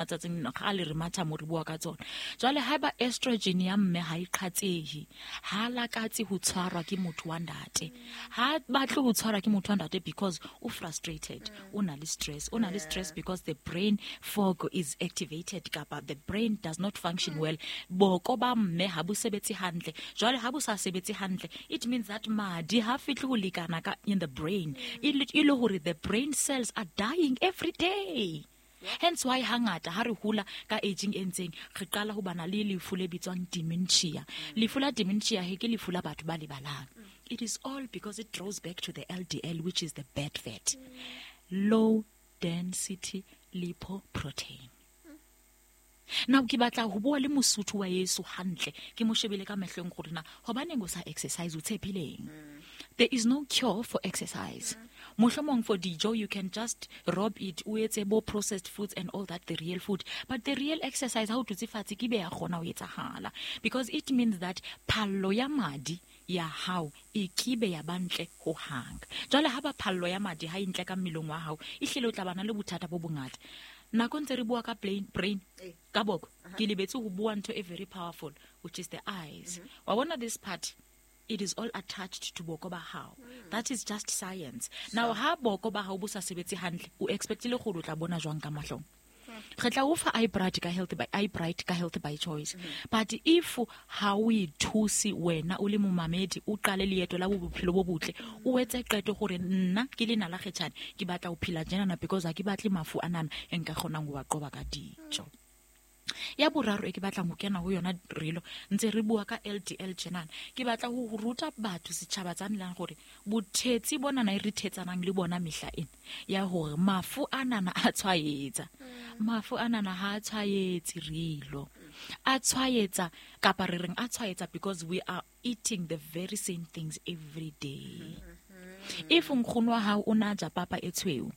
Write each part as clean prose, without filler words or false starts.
Matsatsing kgale re matha mo re bua ka tsona. Jwale haeba estrogen ya mme ha e qhatsehe, ha lakatse ho tshwarwa ke motho wa ntate, ha batle ho tshwarwa ke motho wa ntate because o frustrated, o na le stress, o na le stress because the brain fog is activated kapa the brain does not function well. Boko ba mme ha bo sebetse hantle. Jwale ha bo sa sebetse hantle, it means that madi ha fihle ho lekana ka in the brain, e le hore the brain cells are dying every day. Hence why hangata ha re hula ka aging e ntseng re qala ho bana le lefu le bitswang dementia. Lefu la dementia he ke lefu la batho ba lebalang. It is all because it draws back to the LDL, which is the bad fat. Low density lipoprotein. Now ke batla ho bua le Mosotho wa yeso hantle, ke mo shebile ka mehlong gore na hobaneng o sa exercise, o tshepileng? There is no cure for exercise. Mohlomong for dijo you can just rob it, o etse bo processed foods and all that, the real food. But the real exercise ha o dutse fatshe ke be ya kgona ho etsahala, because it means that phallo ya madi ya hao e kibe ya ba ntle ho hang. Jwale ha ba phallo ya madi ha e ntle ka mmeleng wa hao, ehlile o tla bana le bothata bo bongata. Nako ntse re bua ka brain ka boko, ke lebetse ho bua ntho e very powerful, which is the eyes. Wa bona this part, it is all attached to boko ba hao. That is just science. Now ha boko ba hao bo sa sebetse hantle, o expectile gore o tla bona jwang ka mahlong? Re tla o fa eye bright ka health by eye bright ka Health by Choice. But if ha o ithuse wena o le momamedi, o qale leeto la bophelo bo botle, o etse qeto gore nna ke le Nala Kgetjhane ke batla ho phela tjenana because ha ke batle mafu anana e nka kgonang ho wa qoba ka dijo. Ya boraro e ke batlang ho kena ho yona relo ntse re bua ka LDL tjenana, ke batla ho ruta batho setjhaba tsa nelang gore bothetsi bonana e re thetsanang le bona mehla ena ya hore mafu anana a tshwaetsa. Mafu anana ha a tshwaetse relo, a tshwaetsa kapa re reng a tshwaetsa because we are eating the very same things every day. If nkgono wa hao o na ja papa e tshweu,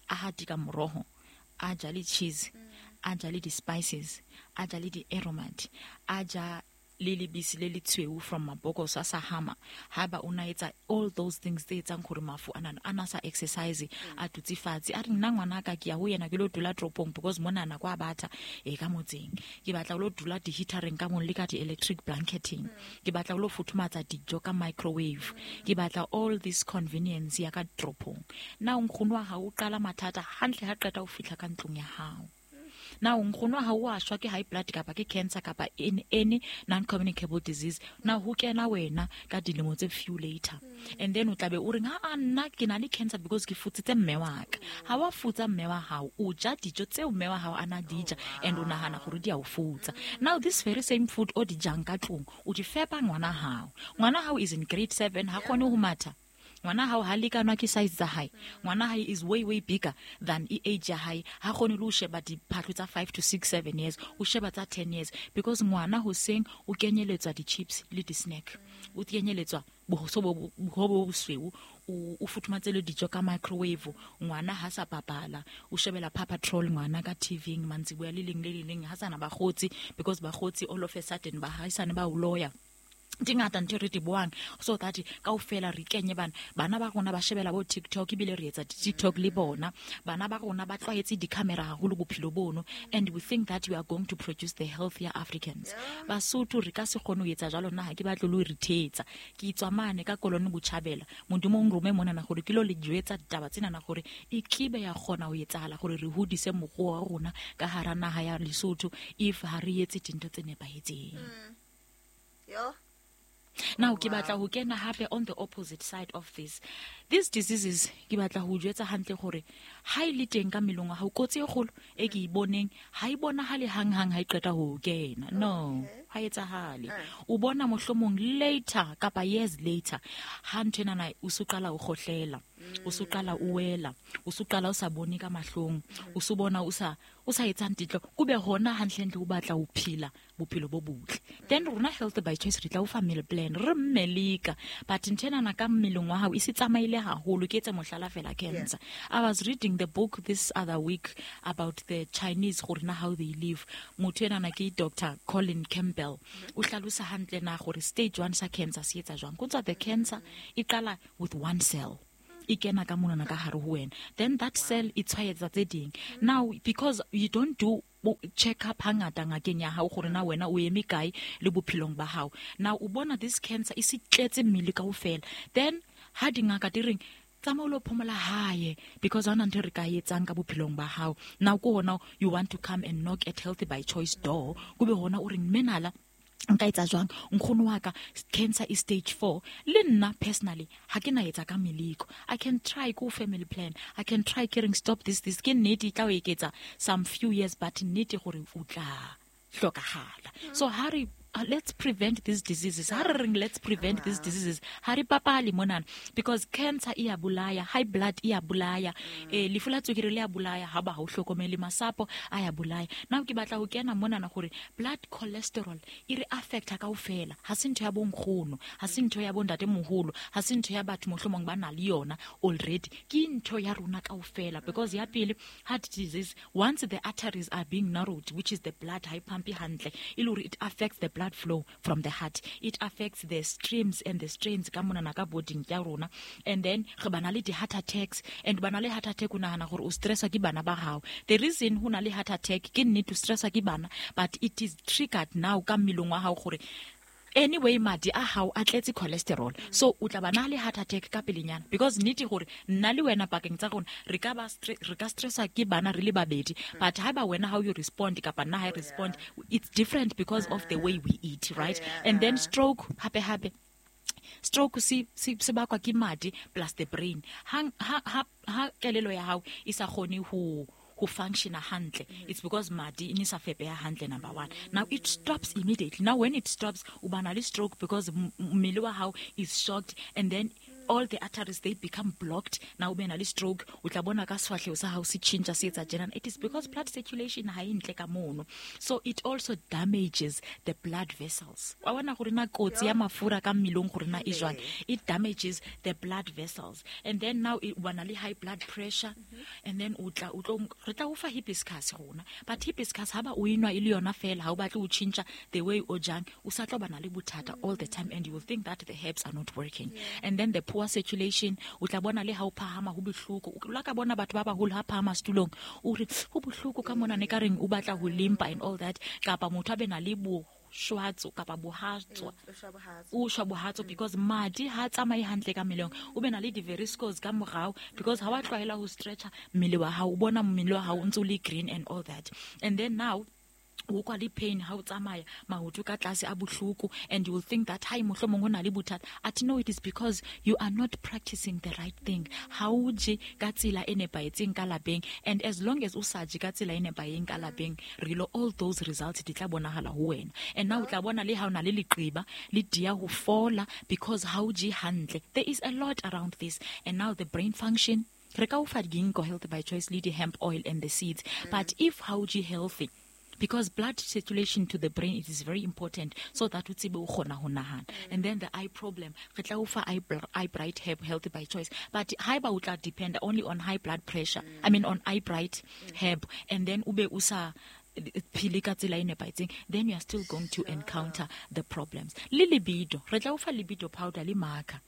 a hatika moroho, a ja le cheese, a ja le di-spices, a ja le di-aromat, a ja le lebisi le le tshweu from mabokoso a sa hama, haeba o na etsa all those things tse etsang gore mafu anana a na sa exercise, a dutse fatshe, a re nna ngwana ka ke ya ho yena ke lo dula toropong because monana kwa batha e ka motseng, ke batla ho lo dula di-heatereng ka mong le ka di-electric blanketing, ke batla ho lo futhumatsa dijo ka microwave, ke batla all this convenience ya ka toropong. Na nkgono wa hao o qala mathata hantle ha qeta ho fihla ka ntlong ya hao? Na nkgono wa hao wa shwa ke high blood kapa ke cancer kapa any non-communicable disease, na ho kena wena ka dilemo tse few later, and then o tla be o reng ha a nna ke na le cancer because ke futsitse mme wa ka. Ha wa futsa mme wa hao, o ja dijo tseo mme wa hao a na di ja and o nahana gore di a o futsa. Now this very same food o di jang ka tlung, o di fepa ngwana hao. Ngwana hao is in grade 7, ha kgone ho matha. Ngwana hao ha lekanwa ke size tsa hae. Ngwana hae is way way bigger than e age ya hae. Ha kgone le ho sheba diphahlo tsa 5 to 6 7 years, o sheba tsa 10 years because ngwana hoseng o kenyeletswa di-chips le di-snack, o kenyeletswa bohoso bo bo bosweu, o futhumatse le dijo ka microwave. Ngwana ha sa bapala, o shebela Paw Patrol ngwana ka TV mantsiboya le leng le le leng, ha sana bakgotsi because bakgotsi all of a sudden ba haisane ba o loya. Di ngata ntho e re di buang so that kaofela re kenye bana. Bana ba rona ba shebela bo TikTok, ebile re etsa di-TikTok le bona. Bana ba rona ba tlwaetse di-camera haholo bophelo bono, and we think that we are going to produce the healthier Africans. Basotho re ka se kgone ho etsa jwalo. Nna ha ke batle le ho re thetsa. Ke tswa mane ka Kolone Botjhabela, Modimo o nrome monana gore ke lo le jwetsa ditaba tsenana gore e kibe ya kgona ho etsahala gore re hodise moruo wa rona ka hara naha ya Lesotho if ha re etse dintho tse nepahetseng. Yo. Now ke batla ho kena hape on the opposite side of this, these diseases. Ke batla ho jwetsa hantle gore ha e le teng ka mmeleng wa hao, kotsi e kgolo e ke e boneng, ha e bonahale hanghang ha e qeta ho kena. No, ha etsahale. O bona mohlomong later kapa years later, ha ntho enana o so qala o kgohlela, o so qala o wela, o so qala o sa bone ka mahlong, o so bona o sa etsang titlo, kube hona hantlentle o batla ho phela bophelo bo botle. Then rona Health by Choice re tla o fa meal plan, re mmelika, but ntho enana ka mmeleng wa hao e se tsamaile haholo. Ke etse mohlala fela, cancer. I was reading the book this other week about the Chinese, gore na how they live. Motho enana ke Dr Colin Campbell, o hlalosa hantle na gore stage 1 sa cancer se etsa jwang. Go tswa the cancer e qala with one cell, e kena ka monana ka hare ho wena, then that cell e tshwaetsa tse ding. Now because you don't do Check up hangata ngakeng ya hao gore na wena o eme kae le bophelong ba hao. Now o bona this cancer e se tletse mmele kaofela. Then ha dingaka di reng tsamaya o lo phomola hae because ha hona ntho e re ka etsang ka bophelong ba hao. Now ko hona you want to come and knock at Healthy by Choice door, ko be hona o reng menala nka etsa jwang, nkgono wa ka cancer is stage 4. Le nna personally ha ke na etsa ka meleko. I can try ko family plan, I can try ke reng stop this, this ke nnete e tla o eketsa some few years, but nnete gore o tla hlokahala. So ha re let's prevent these diseases. Ha re reng let's prevent these diseases, ha re papale monana, because cancer e ya bolaya, high blood e ya bolaya, lefu la tswekere le ya bolaya, ha ba ha o hlokomele masapo a ya bolaya. Now ke batla ho kena monana gore blood cholesterol e re affecta kaofela. Ha se ntho ya bonkgono, ha se ntho ya bontatemoholo, ha se ntho ya batho mohlomong ba na le yona already, ke ntho ya rona kaofela. Because ya pele, heart disease, once the arteries are being narrowed, which is the blood ha e pumpe hantle, e le hore it affects the blood flow from the heart, it affects the streams and the strains ka monana ka boding ya rona. And then re bana le di-heart attacks, and bana le heart attack o nahana gore o stresswa ke bana ba hao. The reason ho na le heart attack ke nnete o stresswa ke bana, but it is triggered now ka mmeleng wa hao gore anyway madi a hao a tletse cholesterol, so o tla ba na le heart attack ka pelenyana. Because nnete gore nna le wena pakeng tsa rona re ka ba re ka stressa ke bana re le babedi, but ha ba wena how you respond kapa nna ha I respond, it's different because of the way we eat, right? And then stroke hape hape, stroke se bakwa ke madi plus the brain. Ha kelelo ya hao e sa kgone ho functiona hantle, it's because madi e ne sa fepeha hantle, number one. Now it stops immediately. Now when it stops, o ba na le stroke because mmele wa hao is shocked, and then all the arteries, they become blocked. Now o be na le stroke, o tla bona ka sefahleho sa hao se tjhentjha, se etsa tjena. It is because blood circulation ha e ntle ka mono. So it also damages the blood vessels. Wa bona gore na kotsi ya mafura ka mmeleng gore na e jwang? It damages the blood vessels. And then now o ba na le high blood pressure, and then o tla, o tlo, re tla o fa hibiscus rona. But hibiscus ha ba o enwa e le yona fela, ha o batle o tjhentjha the way o jang, o sa tlo ba na le bothata all the time, and you will think that the herbs are not working. And then the poor circulation, o tla bona le ha o phahama ho bohloko. O la ka bona batho ba baholo ha phahama setulong, o re ho bohloko ka mona, ne ka reng o batla ho limpa and all that, kapa motho a be na le bo shwatso kapa bohatswa. O shwa bohatso. O shwa bohatso because madi ha tsamaye hantle ka mmeleng. O be na le di-varicose ka morao because ha wa tlwaela ho stretcha mmele wa hao, o bona mmele wa hao o ntse o le green and all that. And then now o kwa le pain ha o tsamaya, maoto ka tlase a bohloko, and you will think that hai mohlomong ho na le bothata. At no, it is because you are not practicing the right thing. Ha o je ka tsela e nepahetseng ka lapeng, and as long as o sa je ka tsela e nepahetseng ka lapeng, re lo all those results di tla bonahala ho wena. And now o tla bona le ha o na le leqeba le dia ho fola because ha o je hantle. There is a lot around this. And now the brain function, re ka o fa ginkgo Healthy by Choice le di hemp oil and the seeds, but if ha o je healthy, because blood circulation to the brain, it is very important so that o tsebe o kgona ho nahana. And then the eye problem, re tla o fa eye bright herb Healthy by Choice, but haeba o tla depend only on high blood pressure, I mean on eye bright herb, and then o be o sa phele ka tsela e nepahetseng, then you are still going to encounter the problems. Le libido, re tla o fa libido powder le marker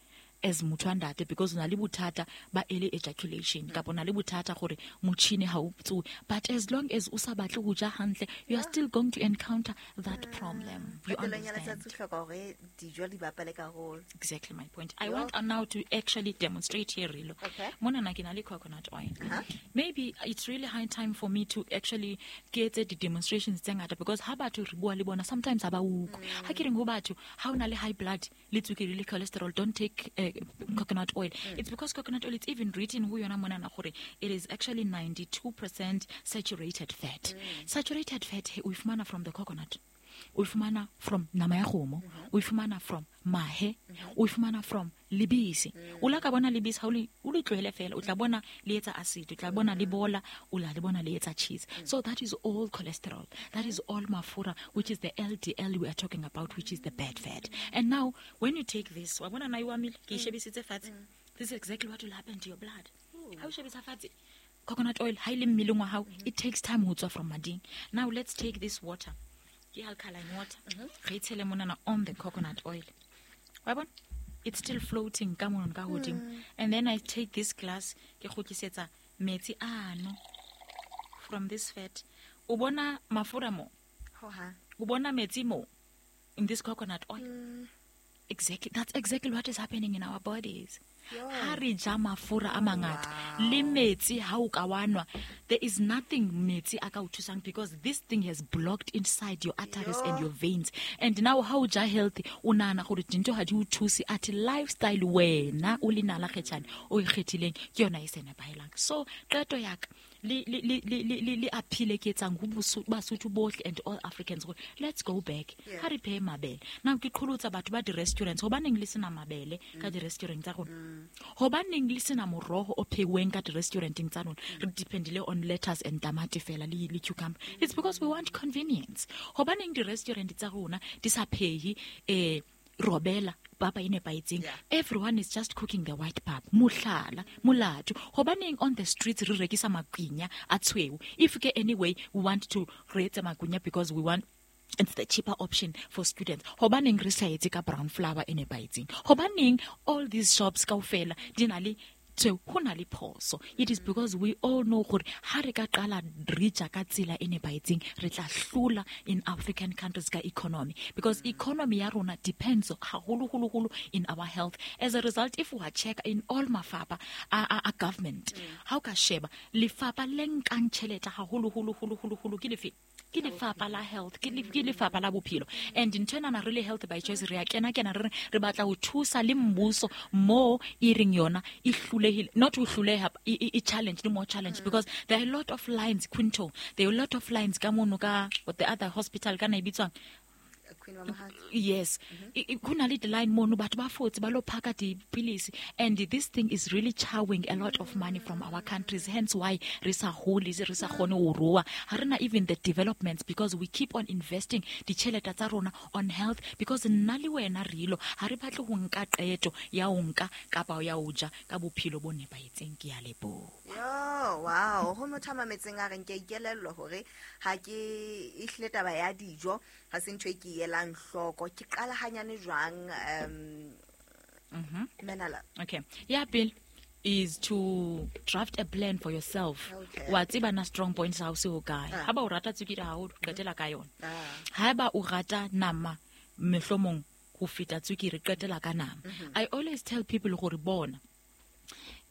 as motho wa ntate, because o na le bothata ba early ejaculation, kapa o na le bothata gore motjhini ha o tsohe. But as long as o sa batle ho ja hantle, you are still going to encounter that problem. You Qetellong ya understand? letsatsi o hloka hore dijo di bapale karolo. Exactly my point. I want now to actually demonstrate here, Rilo. Mona na ke na le coconut oil. Maybe it's really high time for me to actually get the demonstrations tse ngata, because ha batho re bua le bona, sometimes ha ba utlwe. Ha ke reng ho batho, ha o na le high blood, le tswekere le cholesterol, don't take coconut oil. It's because coconut oil, it's even written ho yona mona na gore it is actually 92% saturated fat. Saturated fat he, o e fumana from the coconut. O e fumana from nama ya kgomo, o e fumana from mahe, o e fumana from lebese. O la ka bona lebese ha o le tlohele fela, o tla bona le etsa acid, o tla bona le bola, o la le bona le etsa cheese. So that is all cholesterol, that is all mafura, which is the LDL we are talking about, which is the bad fat. And now when you take this, wa bona na e wamile, ke e shebisitse fatshe. This is exactly what will happen to your blood. Ha o shebisa fatshe coconut oil ha ile mmeleng wa hao, it takes time ho tswa from mading. Now let's take this water, ke alkaline water, re tshele monana on the coconut oil. Wa bona? It's still floating ka mono ka hodimo. And then I take this glass, ke kgutlisetsa metsi ano from this fat. O bona mafura mo? Hohang. O bona metsi mo? In this coconut oil. Exactly. That's exactly what is happening in our bodies. Yo. Ha re ja mafura a mangata le metsi ha o ka wa nwa, there is nothing metsi a ka o thusang because this thing has blocked inside your arteries and your veins. And now ha o ja healthy, o nahana gore dintho ha di o thuse, athe lifestyle wena o le nala kgetjhane o e kgethileng ke yona e se nepahelang. So qeto ya ka le appeal e ke etsang ho Basotho bohle and all Africans gore let's go back. Ha re phehe mabele. Now ke qholotsa batho ba di-restaurants, hobaneng le sena mabele ka di-restaurant tsa rona? Hobaneng le sena moroho o pheuweng ka di-restauranteng tsa rona? Re dependile on lettuce and tamati fela le cucumber. It's because we want convenience. Hobaneng di-restaurant tsa rona di sa phehe robela papa e nepahetseng? Everyone is just cooking the white pap. Mohlala, molato. Hobaneng on the streets re rekisa makwinya a tshweu? If ke anyway we want to re etse makwinya because we want it's the cheaper option for students. Hobaneng re sa etse ka brown flour e nepahetseng? Hobaneng all these shops kaofela di na le tshweu? Ho na le phoso. It is because we all know gore ha re ka qala re ja ka tsela e nepahetseng, re tla hlola in African countries ka economy, because economy ya rona depends haholo, holo, holo in our health. As a result, if we check in all mafapha a government, ha o ka sheba lefapha le nkang tjhelete haholo, holo, holo, holo, holo ke lefe? Ke lefapha la health, ke lefapha la bophelo. And ntho enana re le Health by Choice re a kena kena re re re batla ho thusa le mmuso mo e reng yona e hlolehile, not ho hloleha, e challenge, le more challenge, because there are a lot of lines, Quinto, there are a lot of lines ka mono ka the other hospital ka na e bitswang? Queen Mamohadi. Yes. Ho na le di-line mono, batho ba fotse ba lo phaka dipilisi, and this thing is really chowing a lot of money from our countries, hence why re sa hole, re sa kgone ho rua, ha re na even the developments, because we keep on investing ditjhelete tsa rona on health, because nna le wena re ilo ha re batle ho nka qeto ya ho nka kapa ya ho ja ka bophelo bo nepahetseng. Ke a leboha. Yo, wow, ho motho a mametseng a reng ke a ikelellwa hore ha ke ehlile taba ya dijo ha se ntho e ke e elang hloko, ke qala hanyane jwang, Menala? Okay. Ya pele is to draft a plan for yourself. Wa tseba na strong points ha o se hokae. Ha ba o rata tswekere haholo, qetela ka yona. Ha ba o rata nama mehlomong ho feta tswekere, qetela ka nama. I always tell people gore bona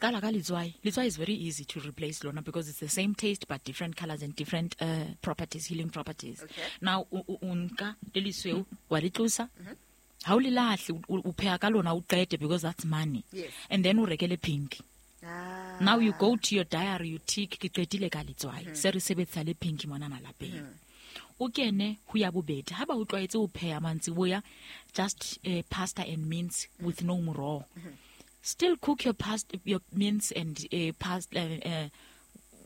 qala ka letswai. Letswai is very easy to replace lona because it's the same taste but different colors and different properties, healing properties. Now o nka le lesweu wa le tlosa. Ha o le lahle, o pheha ka lona o qete because that's money. And then o rekele pink. Now you go to your diary, you tick ke qetile ka letswai. Se re sebetsa le pink monana lapeng. O kene ho ya bobedi. Ha ba o tlwaetse ho pheha mantsiboya, just pasta and mince with no moroho. Still cook your pasta, your mince and pasta,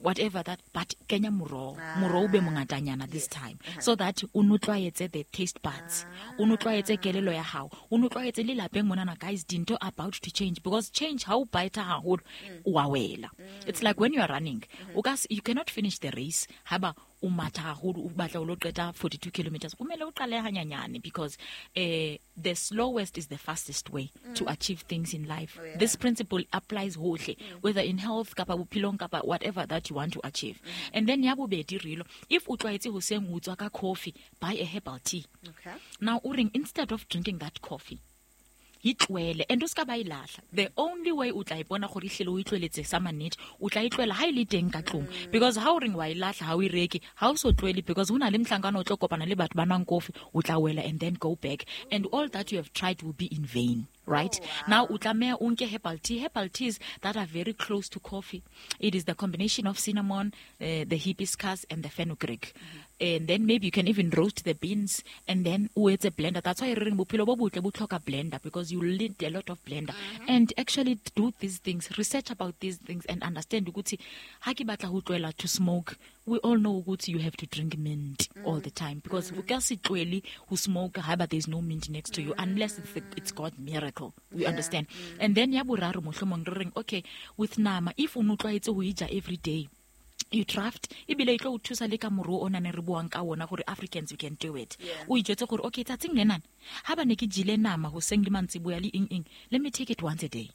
whatever that, but kenya moroho. Moroho be mongatanyana this time. So that o no tlwaetse the taste buds. O no tlwaetse kelello ya hao. O no tlwaetse le lapeng monana, guys, dintho are about to change, because change ha o bite haholo, o a wela. It's like when you are running. O ka you cannot finish the race ha ba o matha haholo, o batla o lo qeta 42 kilometers. Kumele o qale hanyanyane, because the slowest is the fastest way to achieve things in life. This principle applies hohle, whether in health, kapa bophelong, kapa whatever that you want to achieve. And then ya bobedi rilo, if o tlwaetse hoseng o tswa ka coffee, buy a herbal tea. Now o reng, instead of drinking that coffee, e tlohele, and o ska ba e lahla. The only way o tla ipona gore ehlile o itlweletse sa mannete, o tla itlohela ha e le teng ka tlung. Because ha o reng wa e lahla, ha o e reke, ha o so tlohele, because ho na le mohlankana o tlo kopana le batho ba nwang kofi, o tla wela and then go back. And all that you have tried will be in vain. Right? Oh, wow. Now, o tlameha o nke herbal tea. Herbal teas that are very close to coffee. It is the combination of cinnamon, the hibiscus, and the fenugreek. And then maybe you can even roast the beans and then o etse blender. That's why re reng bophelo bo botle bo tlhoka blender, because you need a lot of blender. And actually do these things, research about these things and understand ukuthi ha ke batla ho tlohela to smoke, we all know ukuthi you have to drink mint all the time, because o ka se tlohele ho smoke ha ba there's no mint next to you, unless it's God miracle. We understand. And then ya boraro mohlomong re reng, okay, with nama, if o no tlwaetse ho e ja every day, you draft, ebile e tlo o thusa le ka moruo o nane re buang ka ona gore Africans we can do it. O ijwetse gore okay, tsatsing lenana ha ba ne ke jele nama hoseng le mantsiboya le eng eng, let me take it once a day.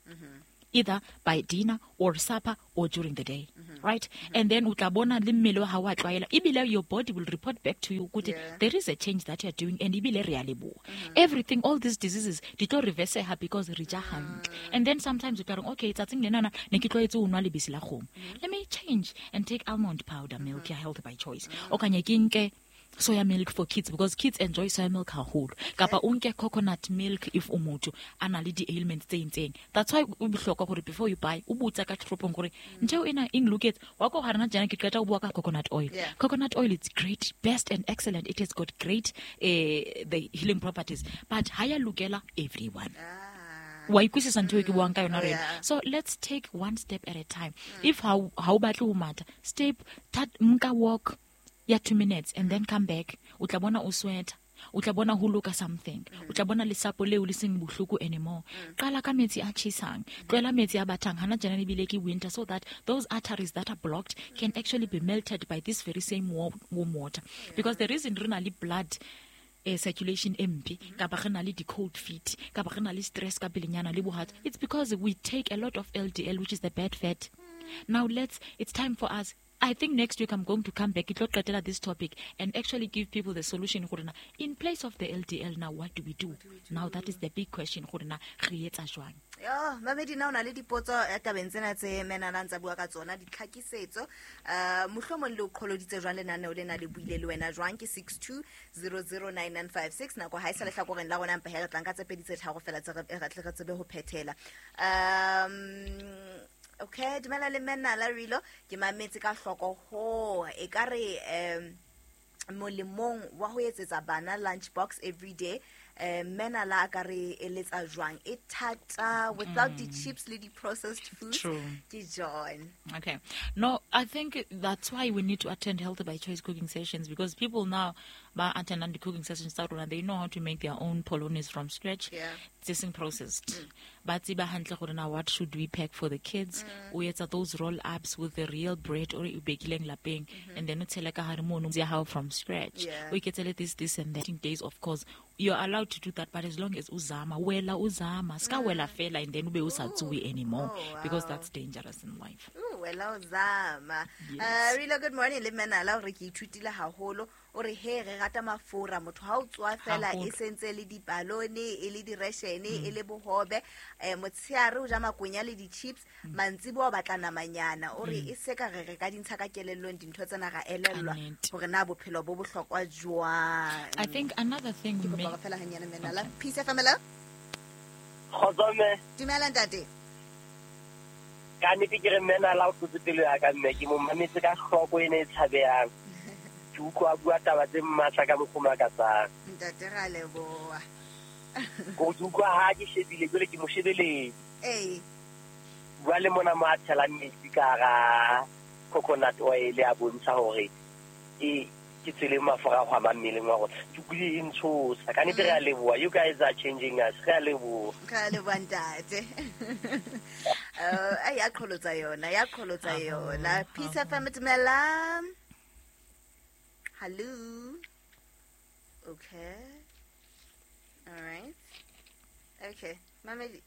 Either by dinner or supper or during the day, right? And then o tla bona le mmele wa hao wa tlwaela. Ebile your body will report back to you ukuthi there is a change that you are doing, and ebile re a leboha. Everything, all these diseases di tlo reverseha because re ja hantle. And then sometimes o tla re, okay, tsatsing lenana ne ke tlwaetse ho nwa lebese la kgomo. Let me change and take almond powder milk ya Health by Choice. Okanye ke nke soya milk for kids, because kids enjoy soya milk haholo. Kapa o nke coconut milk if o motho a na le di-ailments tse itseng. That's why o bohlokwa gore before you buy, o botsa ka toropong gore ntho eo ena e nloketse. Wa ko ga rena jana ke qeta ho bua ka coconut oil. Coconut oil is great, best and excellent. It has got great the healing properties, but ha ya lokela everyone. Wa ikwisisa ntho e ke buang ka yona rena. So let's take one step at a time. If ha o batle ho matha, step nka walk ya 2 minutes and then come back. O tla bona o sweat, o tla bona ho loka something, o tla bona lesapo leo le seng bohloko anymore. Qala ka metsi a tjhesang, tlohela metsi a batang. Hana tjena ebile ke winter, so that those arteries that are blocked can actually be melted by this very same warm water. Because the reason re na le blood circulation e mpe, kapa re na le di-cold feet, kapa re na le stress ka pelenyana le bohatsa, it's because we take a lot of LDL, which is the bad fat. Now it's time for us. I think next week I'm going to come back, ke tlo qetela this topic and actually give people the solution gore na in place of the LDL, now what do we do? Now that is the big question gore na re etsa jwang? Yo, mamedi, na o na le dipotso tabeng tsena tse menana ntsa bua ka tsona, ditlhakisetso, mohlomong le o qholoditse jwang lenaneo lena le buile le wena jwang? Ke 62009956. Nako ha e sa lehlakoreng la rona, mpa he re tlang ka tse pedi tse tharo fela tse re tle re tsebe ho phethela. Okay, dumela le mena la Rilo, ke mametse ka hloko ho e ka re molemong wa ho etsetsa bana lunch box every day. Mena la ka re eletsa jwang e thata without the chips le the processed food? True. Ke John. Okay. No, I think that's why we need to attend Healthy by Choice cooking sessions, because people now by attending the cooking sessions they know how to make their own polonies from scratch. It's processed. Ba tseba hantle gore na what should we pack for the kids? O etsa those roll ups with the real bread or o bakileng lapeng, and then o tshela ka hare mono ya hao from scratch. O iketsele this, this and that. In days, of course, you're allowed to do that, but as long as uzama, wela uzama, ska wela fela, and then ube usa tsuwe anymore, because that's dangerous in life. Ooh, wela uzama. Yes. Rilo, good morning. Le mena la hore ke ithutile haholo. O re he re rata mafura, motho ha o tswa fela Haholo. e sentse le dipalone, e le direshene, e le bohobe, motsheare o ja makwenya le di-chips, mantsiboa o batla namanyana. O re e se ka re re ka dintsha ka kelellong dintho tsena ra elellwa Ka nnete. hore na bophelo bo bohlokwa jwang. I think another thing Ke kopa may hore fela hanyane mena la. Peace FM, hello? Kgotso mme. Dumela ntate. Ka nnete ke re mme Nala o tlotse pelo ya ka mme, ke mo mametse ka hloko ena e tshabehang. Ke utlwa a bua taba tse matla ka mokgwa o makatsang. Ntate, ra leboha. Ko ke utlwa ha ke shebile, jwale ke mo shebeletse. Ee. Bua le mona mo a tshelang metsi ka hara coconut oil a bontsha hore e ke tsela e mafura a hwamang mmeleng wa rona. Ke utlwile e ntshosa. Ka nnete re a leboha. You guys are changing us. Re a leboha. Re a leboha ntate. Ai, ya qholotsa yona, ya qholotsa Haholo, yona. Peace haholo. FM, dumelang. Hello. Okay. All right. Okay. Mamedi,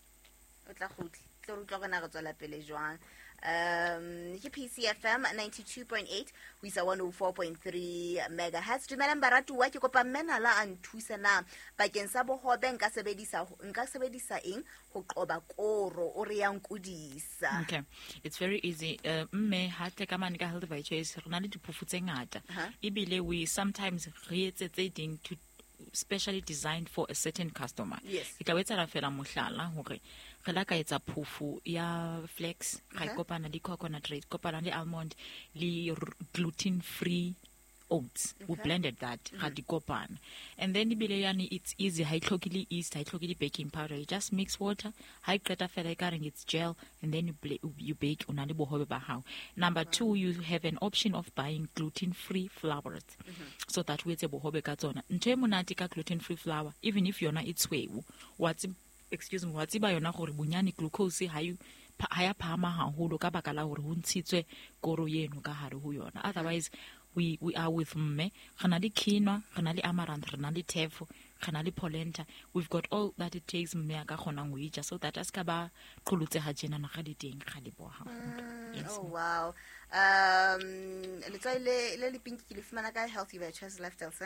o tla kgutla. Tlo re utlwa hore na re tswela pele jwang. Ke PCFM 92.8 ho isa 104.3 megahertz. Dumelang baratuwa, ke kopa mme Nala a nthuse na bakeng sa bohobe nka sebedisa eng ho qoba koro o re ya nkodisa. Okay, it's very easy. Mme ha tle ka mane ka Healthy by Choice re na le diphofo tse ngata. Ebile we sometimes re etse tse ding to specially designed for a certain customer. Ke tla o etsela fela mohlala hore re la ka etsa phofo ya flax, ra e kopana le coconut, re kopana le almond le gluten free oats. We blended that, ra di kopana. And then ebile yane it's easy, ha e tlhoke le yeast, ha e tlhoke le baking powder. You just mix water, ha e qeta fela e ka reng it's gel, and then you bake, o na le bohobe ba hao. Number 2, you have an option of buying gluten-free flours, so that o etse bohobe ka tsona. Ntho e monate ka gluten-free flour, even if yona e tshweu, wa excuse me, wa tseba yona gore bonyane glucose ha e ha ya phahama haholo ka baka la hore ho ntshitswe koro eno ka hare ho yona. Otherwise, we are with mme, re na le quinoa, re na le amaranth, re na le tefo, Re na le polenta. We've got all that it takes mme a ka kgonang ho e ja, so that a se ka ba qholotseha tjenana ga le teng. Ga leboha haholo. Yes. Oh wow. Letswai le le pinki ke le fumana ka Healthy Ventures Lifestyle.